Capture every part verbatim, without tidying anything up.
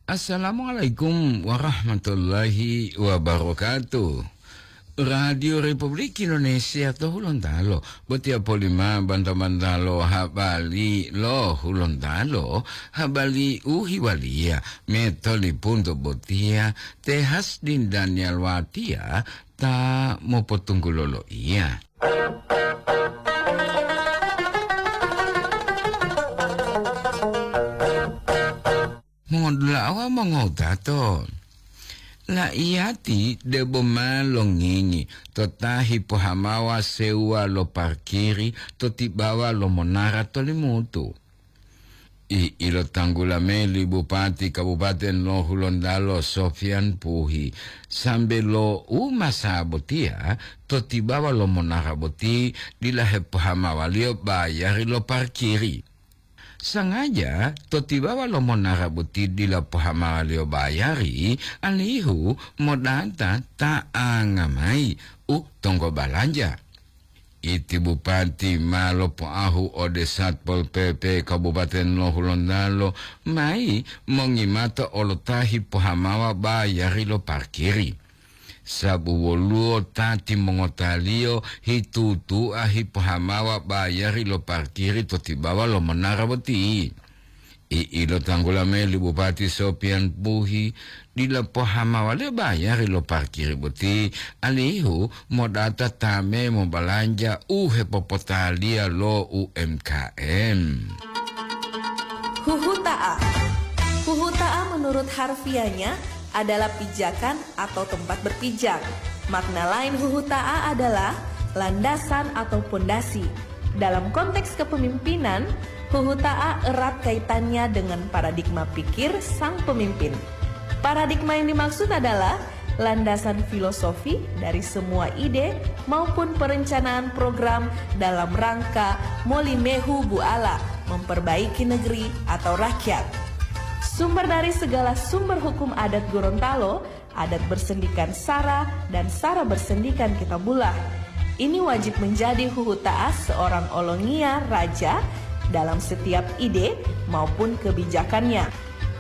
Assalamualaikum warahmatullahi wabarakatuh. Radio Republik Indonesia to Hulontalo, botiya polima banta-bantalo habari lo Hulontalo, habari u hiwaliya, metolipunto botiya, Tehas din Daniel Watia, ta mopotunggulo loiya. Mongodula'a wawu mongowutato, la'iyati debo ma longingi to ta hipohamawa sewuwa lo parkiri to tibawa lo monara to Limutu. I ilotanggula mayi li Bupati Kabupaten lo Hulontalo Sofian Puhi, sambe lo u masa botiya to tibawa lo monara boti dila hepohamawaliyo bayari lo parkiri. Sangaja to tibawa lo monara boti dila pohamawaliyo bayari, alihu modata ta'anga mayi u tonggo balanja. Iti Bupati ma lopoahu ode Satpol P P Kabupaten lo Hulontalo mayi mongimato olo ta hipohamawa bayari lo parkiri. Sabu woluwo ta timongotaliyo hitutu'a hipohamawa bayari lo parkiri to tibawa lo monara boti. I ilotanggula mayi li Bupati Sopian Puhi, dila pohamawaliyo bayari lo parkiri boti, alihu modata ta me mobalanja u hepopotaliya lo U M K M. Huhuta'a. Huhuta'a menurut harfiahnya adalah pijakan atau tempat berpijak. Makna lain huhuta'a adalah landasan atau pondasi. Dalam konteks kepemimpinan, huhuta'a erat kaitannya dengan paradigma pikir sang pemimpin. Paradigma yang dimaksud adalah landasan filosofi dari semua ide maupun perencanaan program dalam rangka molimehu buala memperbaiki negeri atau rakyat. Sumber dari segala sumber hukum adat Gorontalo, adat bersendikan sara dan sara bersendikan kitabullah. Ini wajib menjadi huhuta'a seorang olongiya raja dalam setiap ide maupun kebijakannya.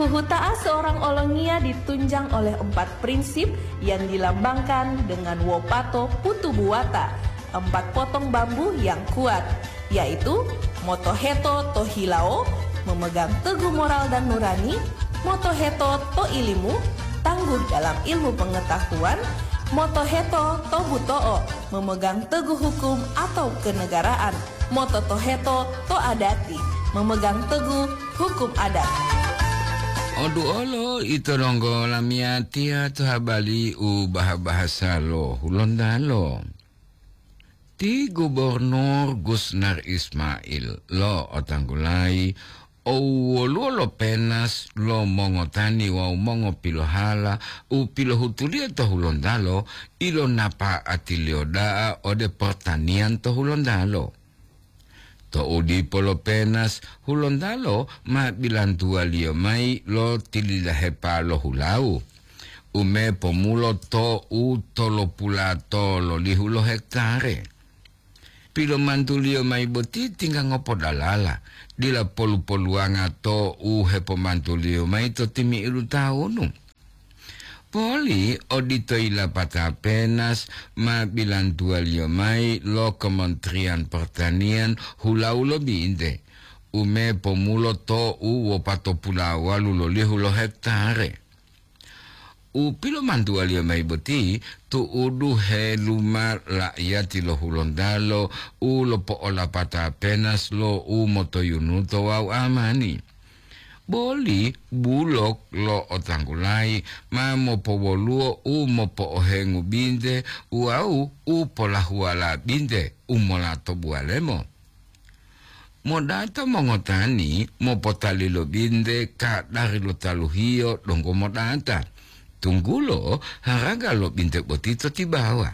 Huhuta'a seorang olongiya ditunjang oleh empat prinsip yang dilambangkan dengan wopato putu buwata, empat potong bambu yang kuat, yaitu motoheto to hilawo, memegang teguh moral dan nurani, motoheto to ilimu, tangguh dalam ilmu pengetahuan, motoheto to buto'o, memegang teguh hukum atau kenegaraan, mototoheto to adati, memegang teguh hukum adat. Oduolo ito donggo lamiyatiya to habali u baha-bahasa lo Hulontalo. Ti Gubernur Gusnar Ismail lo'otanggulayi owoluwo lo penas lo mongotani wawu mongopilohala u pilohutuliyo to Hulontalo ilonapa'atiliyo da'a ode pertanian to Hulontalo. To'u dipo lo penas, Hulontalo ma bilantuwaliyo mayi lo tililahepa lo hulawu, u me pomulo to'u tolopulato lolihu lo hektare. Pilomantuliyo mayi boti tingga ngopodalala, dila polu-poluwanga to'u hepomantuliyo mayi to timi'idu tawunu. Poli odito yilapata penas ma bilantuwaliyo mayi lo Kementerian Pertanian hulawu lo binte, u me pomulo to'u wopatopulawalu lolihu lo hektare. U pilomantuwaliyo mayi boti tu'udu heluma la'iyati lo Hulontalo u lopo'olapata penas lo u motoyunuto wawu amani. Boli bulok lo otanggulayi ma mopowoluwo u mopo'ohengu binte wawu u polahuwala binte u molato buwalemo. Modata mongotani mopotali lo binte kadari lo taluhiyo donggo modata, tunggulo haraga lo binte boti to tibawa.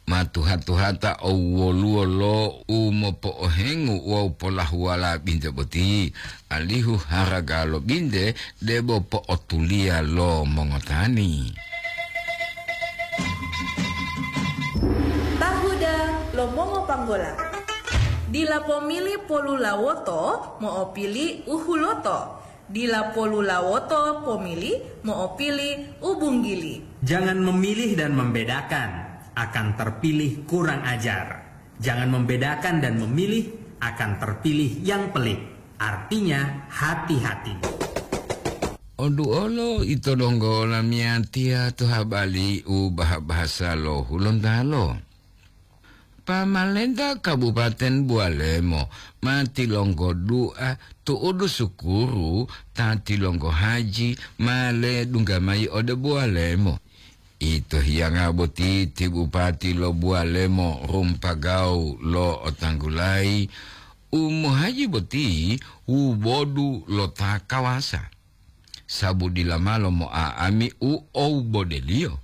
Ma tuha-tuhata owwoluwo lo u mopo'ohengu wawu polahuwala binte boti, alihu haraga lo binte debo po'otuliya lo mongotani. Tahuda lo mongopanggola. Dila pomili polulawoto mo'opili u huloto. Dila polulawoto pomili mo'opili u bunggili. Jangan memilih dan membedakan, akan terpilih kurang ajar. Jangan membedakan dan memilih, akan terpilih yang pelit. Artinya, hati-hati. Oduolo ito donggo lamiyatiya to habali u baha-bahasa lo Hulontalo. Pamalenta Kabupaten Bualemo ma tilonggo dua tu'udu sukuru ta tilonggo haji ma ledungga mayi ode Bualemo. Ito hiyanga boti ti bupati lo Bualemo Rumpagau lo otanggulayi u mohaji boti wubodu lo ta kawasa. Sabu dila malo mo'a'ami u owubodeliyo.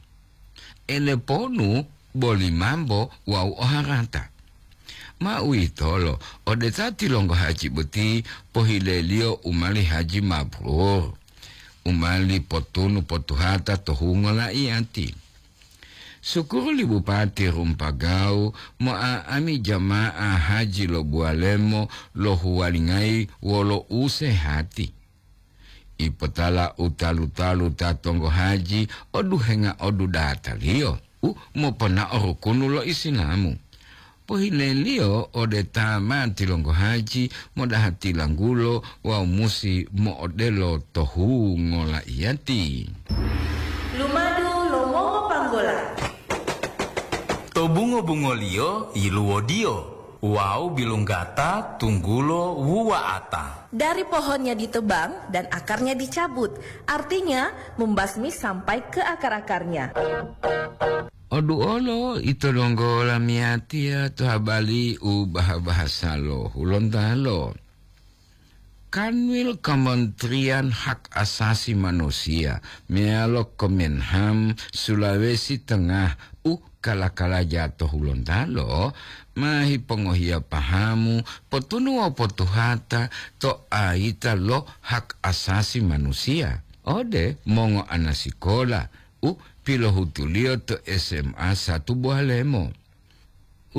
Eleponu boli mambo wawu oharata. Ma uwitolo, ode ta tilonggo haji boti pohileliyo u mali haji mabrur, u mali potunu potuhata to hungo laiyati. Sukuru li Bupati Rumpagau mo'a'ami jama'a haji lo Bualemo lohuwalingayi wolo usehati. Ipotala u talu-talu ta tonggo haji oduhenga odudataliyo u moponao rukunu lo Isilamu. Pohileliyo ode ta ma tilonggo haji modaha tilanggulo wawu musi mo'odelo to hungo laiyati. Lumadu lo mongopanggola. To bungo-bungoliyo yiluwodiyo wawu bilunggata tunggulo wuwa'ata. Dari pohonnya ditebang dan akarnya dicabut, artinya membasmi sampai ke akar-akarnya. Oduolo ito donggo lamiyatiya to habali u baha-bahasa lo Hulontalo. Kanwil Kementerian Hak Asasi Manusia meyalo Kemenham Sulawesi Tengah u kala-kalaja to Hulontalo ma hipongohiya pahamu potunu wawu potuhata to ayita lo hak asasi manusiya ode mongo'ana sikola u pilohutuliyo to S M A satu Bualemo.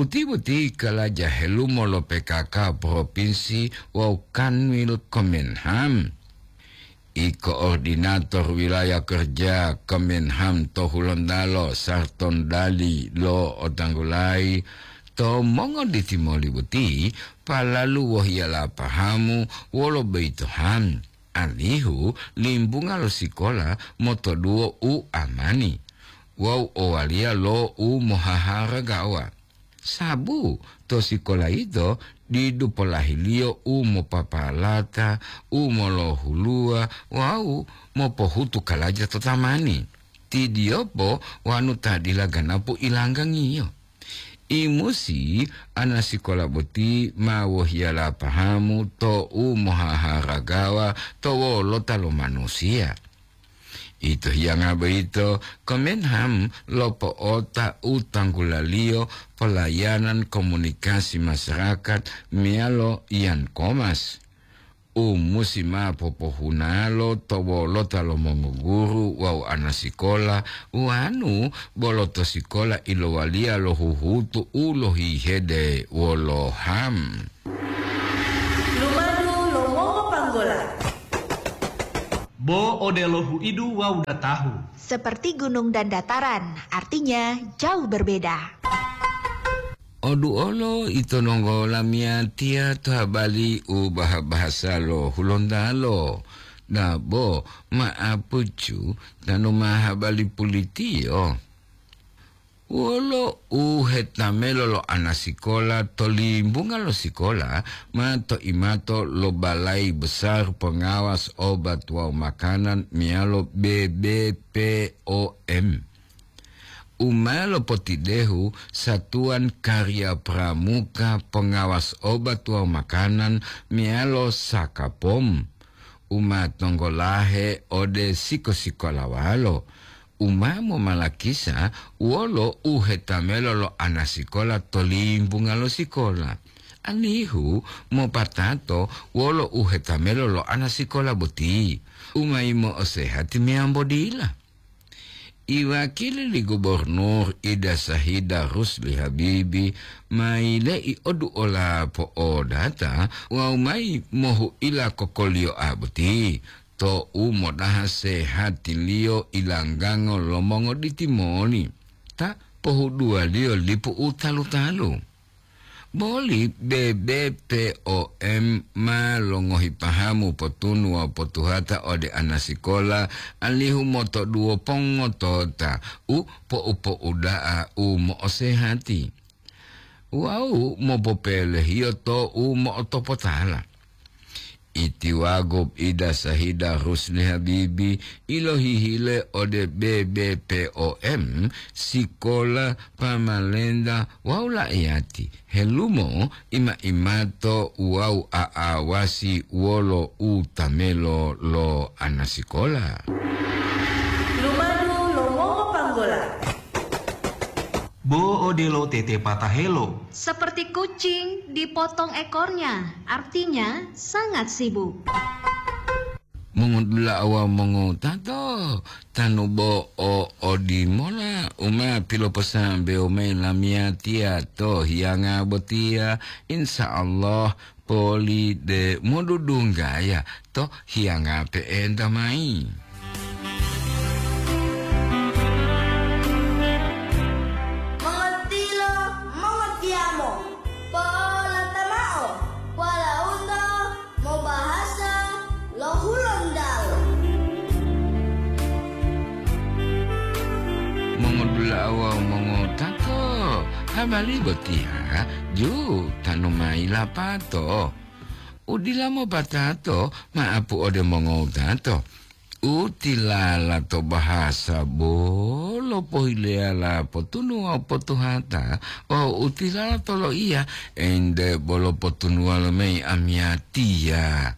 Uti boti kalaja helumo lo P K K Propinsi wawu Kanwil Kemenham. I koordinator wilaya kerja Kemenham to Hulontalo Sarton Dali lo otanggulayi to mongoditimoli boti palalu wohiyala pahamu wolo boyito ham, alihu limbunga lo sikola motoduwo u amani wawu owaliya lo u mohaharagawa. Sabu to sikola yito didu polahiliyo u mopapalata, u molohuluwa wawu mopohutu kalaja to tamani. Tidiyopo wanu ta dila ganapu ilanggangiyo. Imusi ana sikola boti ma wohiyala pahamu to u mohaharagawa to wolota lo manusiya. Ito hiyanga boyito, Kemenham lopo'ota u tanggulaliyo pelayanan komunikasi masyarakat meyalo Yan Komas, u musi ma popohunalo to wolota lo mongoguru wawu ana sikola, wanu bolo to sikola ilowaliya lo huhutu u lohihede wolo ham. Lumadu lo mongopanggola. Bo odelo huidu wawu datahu. Seperti gunung dan dataran, artinya jauh berbeda. Oduolo ito nonggo lamiyatiya to habali u baha-bahasa lo Hulontalo. Dabo ma'apucu tanu ma habali pulitiyo. Wolo u hetamelo lo ana sikola to limbunga lo sikola ma to imato lo Balai Besar Pengawas Obat wawu Makanan meyalo B B P O M. U ma lopotidehu Satuan Karya Pramuka Pengawas Obat wawu Makanan meyalo Sakapom, u ma tonggolahe ode siko-sikolawalo, u ma momalakisa wolo u hetamelo lo ana sikola to limbunga lo sikola, alihu mopatato wolo u hetamelo lo ana sikola boti, u ma yimo'osehati meyambo dila. Iwakili li Gubernur Ida Sahida Rusli Habibi ma yile'i oduola po'odata wawu mayi mohu'ila kokoliyo'a boti, to'u modaha sehatiliyo ilanggango lo mongoditi moli, ta pohuduwaliyo lipu u talu-talu. Boli B B P O M ma longohi pahamu potunu wawu potuhata ode anasikola, alihu motoduwo pongotota u po'u-po'uda'a u mo'osehati wawu mopopelehiyo to u mo'otopotala. Itiwago Ida Sahida Rusli Habibi ilohihile ode B B P O M, sikola, pamalenta wawu la'iyati helumo ima-imato wawu a'awasi wolo utamelo lo anasikola. Lumadu lo mongopanggola. Bo odelo tete patahelo. Seperti kucing dipotong ekornya, artinya sangat sibuk. Mongodula'a wawu mongowutato, tanu bo o odimola u ma piloposambewo mayi lamiyatiya to hiyanga botiya, insya Allah poli de modudunggaya to hiyanga pe'enta mayi. Mongotilo, mongotiyamo, po'olata mao, walauto mobahasa lo Hulontalo. Mongodula'a wawu mongotato, habari botiya ju tanu mayi lapato. U dila mopatato ma'apu ode mongotato. U tilala to bahasa bolo pohileyala potunu wawu potuhata, wawu u tilala to loiya ente bolo potunuwalo mayi amiyatiya.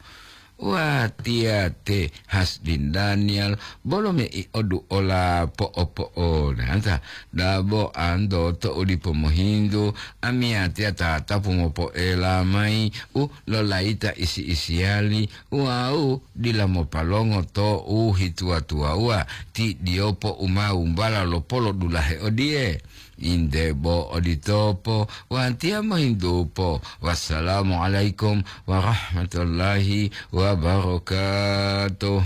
Watiya te Hasdin Daniel bolo mei oduola po'opo'onata, dabo anto to u dipo mohintu, amiyatiya tatapu mopoela mayi u lolayita isi-isiyali, wawu dila mopalongo to u hituwa-tuwawuwa ti diyopo u ma wumbala lo polodulahe odiye. Inde bo oditopo, watiya mohintupo. Wassalamualaikum warahmatullahi wabarakatuh.